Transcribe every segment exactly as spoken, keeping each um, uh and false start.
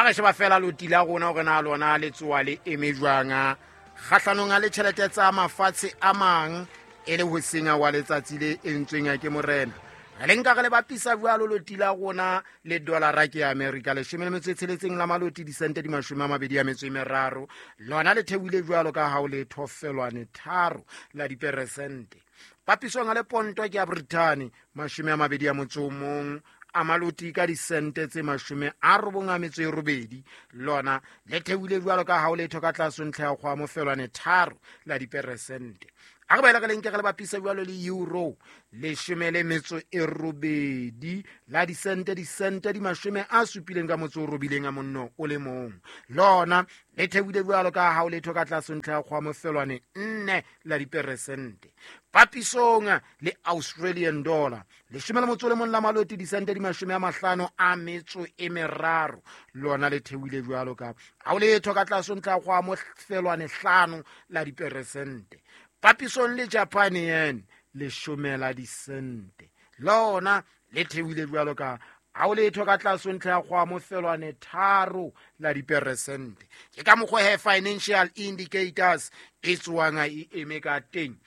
A re sheba fela loti la rona hore na lona le tsoa le eme jwang kgahlanong le tjhelete tsa mafatshe a mang e le ho senya wa letsatsi le entsweng ke morena. Re le nka re le bapisa jwalo loti la rona le dollara ke America leshome le metso e tsheletseng la maloti disente di mashome a mabedi a metso e meraro, lona le theohile jwalo ka ha o le thofelwane tharo la diperesente. Papisong le ponto ke ya Britain mashome a mabedi a motso o mong a maloti ka disente tse mashome a robong a metso e robedi, lona le theohile jwalo ka ha o letho ka tlase ntlha ya kgwa mofelwane tharo la diperesente. A re baela ka lenke re le bapisa jwalo le euro leshome le metso e robedi la disente disente di mashome a supileng ka motso o robileng a monno o le mong, lona le theohile jwalo ka ha o letho ka tlase ntlha ya kgwa mofelwane nne la diperesente. Papisong le Australian dollar leshome le motso o le mong la maloti disente di mashome a mahlano a metso e meraro, lona le theohile jwalo ka ha o letho ka tlase ntlha ya kgwa mofelwane hlano la diperesente. Papisong le Japan yen leshome la disente, lona le theohile jwalo ka ha o letho ka tlase ntlha ya kgwa mofelwane tharo la diperesente. Ke ka mokgwa he financial indicators e tswang e eme ka teng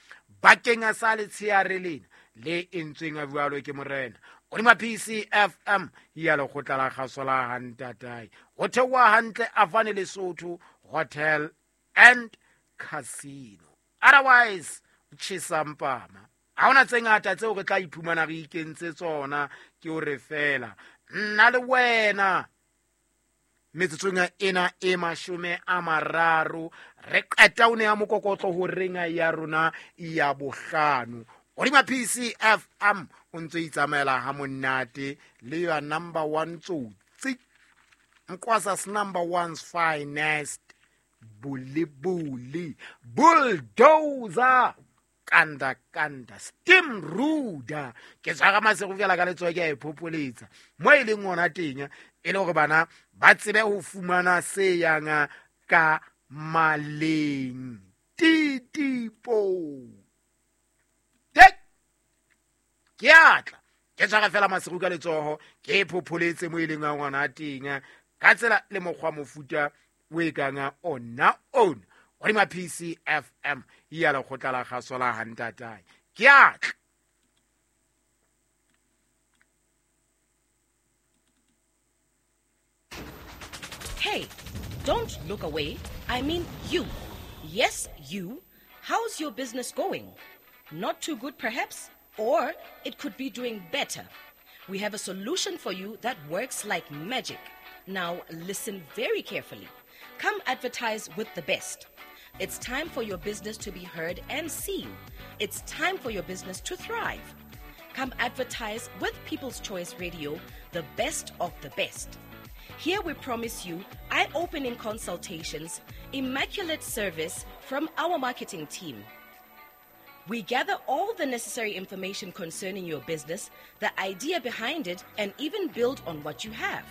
bakeng sa letsheare lena le entsweng a jwalo ke morena. Hodima P C F M ya lekgotla la kgaso la Hantatae ho theoha hantle Avane Lesotho Hotel and Casino. Otherwise tjhesa mpama ha hona tse ngata tseo re tla iphumana re ikentse tsona, ke hore fela nna le wena metsotsong ena e mashome a mararo re qeta o ne ya mokokotlo ho renga ya rona ya bohlano. Hodima P C F M o ntse itsamaela ha monate le ya number one tsotsi Nkwasas number one's finest bulibuli bulldozer kanda kanda steam ruda ke tshwara masego fela ka letsoho ke a e phopholetsa mo e leng ona teng e le hore bana ba tsebe ho fumana se yang ka maleng titipo tek ke atla ke tshwara fela masego ka letsoho ke e phopholetse mo e leng ona teng ka tsela le mokgwa mofuta o e kang ona ona hodima P C F M ya lekgotla la kgaso la Hantatae ke atla. Hey, don't look away. I mean you. Yes, you. How's your business going? Not too good perhaps, or it could be doing better. We have a solution for you that works like magic. Now listen very carefully. Come advertise with the best. It's time for your business to be heard and seen. It's time for your business to thrive. Come advertise with People's Choice Radio, the best of the best. Here we promise you eye-opening consultations, immaculate service from our marketing team. We gather all the necessary information concerning your business, the idea behind it, and even build on what you have.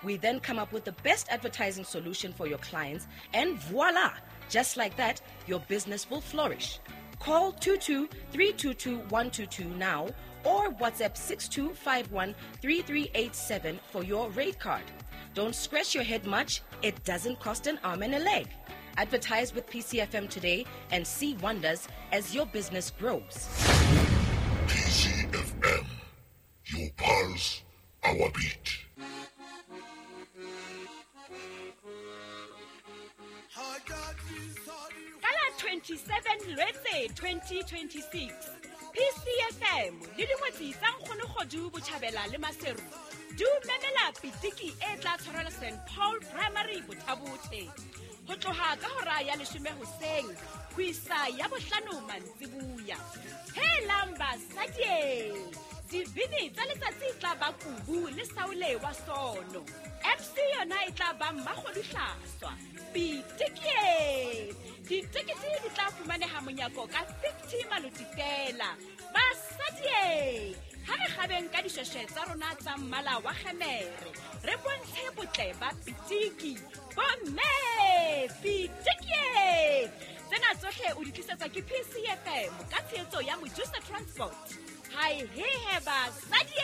We then come up with the best advertising solution for your clients, and voila! Just like that, your business will flourish. Call two two three two two one two two now or WhatsApp six two five one three three eight seven for your rate card. Don't scratch your head much. It doesn't cost an arm and a leg. Advertise with P C F M today and see wonders as your business grows. P C F M, your pulse, our beat. twenty-seven Lwetse twenty twenty-six P C F M le dingwetsi tsa Nkgonogodu Botjhabela le Maseru di memela pitiki e tla tshwarelwa Saint Paul Primary Bothabothe ho tloha ka hora ya leshome hoseng ho isa ya bohlano mantsibuya. Helang basadi, dibini tsa letsatsi tla ba kubu le saole wa sono. F C yona e tla ba mmakgodu hlaswa. Pitiki ditekete di tla fumaneha monyako ka fifty maloti fela. Basadi, ha re kgabeng ka dishweshwe tsa rona tsa mmala wa kgemere, re bontshe botle ba pitiki. Bomme, pitiki! Tsena tsohle o di tlisetswa ke P C F M ka tshehetso ya Mojusa Transport. Hai he he basadi!